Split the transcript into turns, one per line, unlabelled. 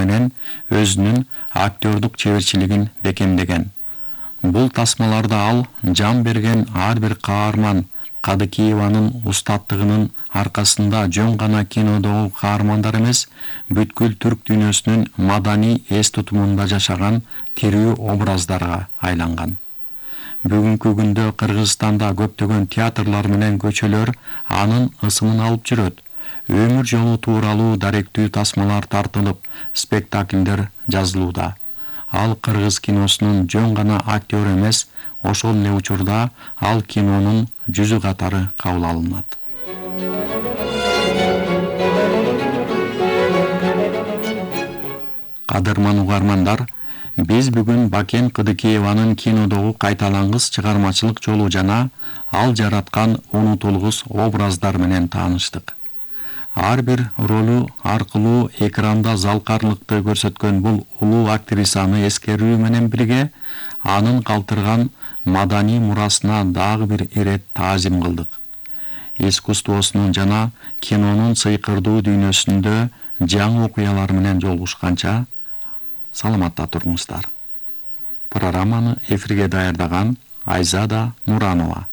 менен өзүнүн актёрдук чеберчилигин бекемдеген. Бул тасмаларда ал жан берген ар бир каарман Кадыкиеванын устаттыгынын аркасында жөн гана кинодогу каармандар эмес, бүткүл түрк дүйнөсүнүн маданий эс тутумунда жашаган тирүү образдарга айланган. Бүгүнкү күндө Кыргызстанда көптөгөн театрлар менен көчөлөр анын ысымын алып жүрөт. Өмүр жолу тууралуу даректүү тасмалар тартылып, спектакльдер жазылууда. Ал кыргыз киносунун жөн гана актер эмес, ошол эле учурда ал кинонун жүзү катары кабыл алынат. Кадырман угармандар, биз бүгүн Бакен Кыдыкиеванын кинодогу кайталангыс чыгармачылык жолу жана ал жараткан унутулгус образдар менен тааныштык. Ар бир ролу аркылуу экранда залкарлыкты көрсөткөн бул улуу актрисаны эскерүү менен бирге анын калтырган маданий мурасына дагы бир ирет таазим кылдык. Искусствосунун жана кинонун сыйкырдуу дүйнөсүндө жаңы окуялар менен жолугушканча саламатта туруңуздар. Программаны эфирге даярдаган Айзада Нуранова.